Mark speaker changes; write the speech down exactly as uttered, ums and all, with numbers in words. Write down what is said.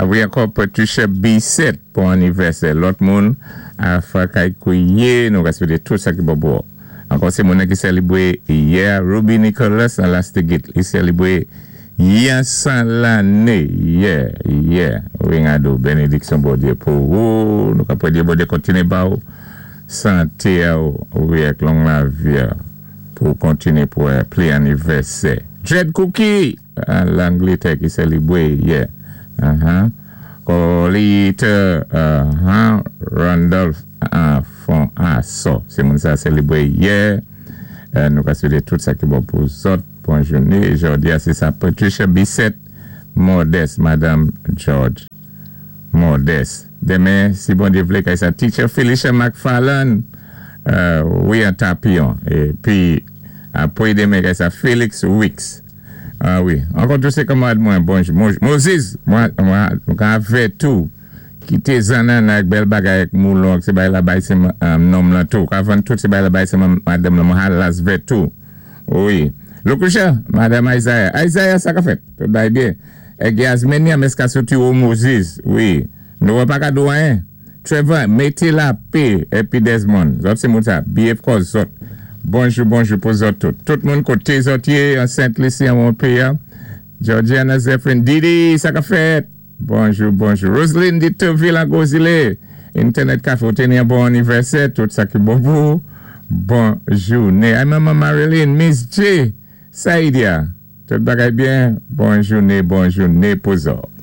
Speaker 1: Wi, ankò Patricia Bissett pou anivèsè. Lòt moun, a Fakay Kouye, nou ka swété tout sa ki bon pou. Ankò sé moun ki sélébwé yè, Ruby Nicholas an Lastigit. Li sélébwé yon san lanné. Yè, yè. Wi, ngado, bénédiksyon Bondyé pou ou. Nou ka pwédé Bondyé kontiné ba ou. Santé ou, wi, ak long lavi pou kontiné pou pli anivèsè. Dread Cookie, an Langlétè ki sélébwé yè. Uh-huh. Colita, uh-huh. Randolph, uh, fon aso. Sé moun sa sélébwé yè. Euh, nou ka swété tout sa ki bon pou zòt. Bon jouné. Jòdi a, sé sa Patricia Bissett Modeste, Madame George Modeste. Denmen, si Bondyé vlé, kay sa Teacher Felicia McFarlane, euh, wi, an Tapion. Épi, apwé denmen, kay sa Felix Wicks. Ah wi. Ankò tou sé kanmarad mwen, bonjou. Moses, mwen, mwen, mwen avè tou. Kité zannan ak bèl bagay ak moulon, sé bay la bay sé um, nonm lan tou. Ka vann tout sé bay la bay sé madanm lan, mwen halas vè tou. Wi. Lucretia, Madame Isaiah. Isaiah, sa ka fèt? Tout bay byen. Ek Yasmenia, meska soti ou Moses. Wi. Nou wè pa ka do anyen. Trevor, mété lapè, épi Desmond. Zòt sé moun sa, B F kòz zòt. Bonjou, bonjou pou zòt tout. Tout moun koté zòt yé, an Saint-Lucie, an Montpellier. Georgiana Zephyrin, Didi, sa ka fèt? Bonjou, bonjou. Roselyne Ditoville an Gozile. Internet Café, ou téni yon bon anivèsè, tout sa ki bon pou. Bon jouné. Ay Maman Marilyn, Miss J, Saidia. Tout bagay byen. Bon jouné, bon jouné pou zòt.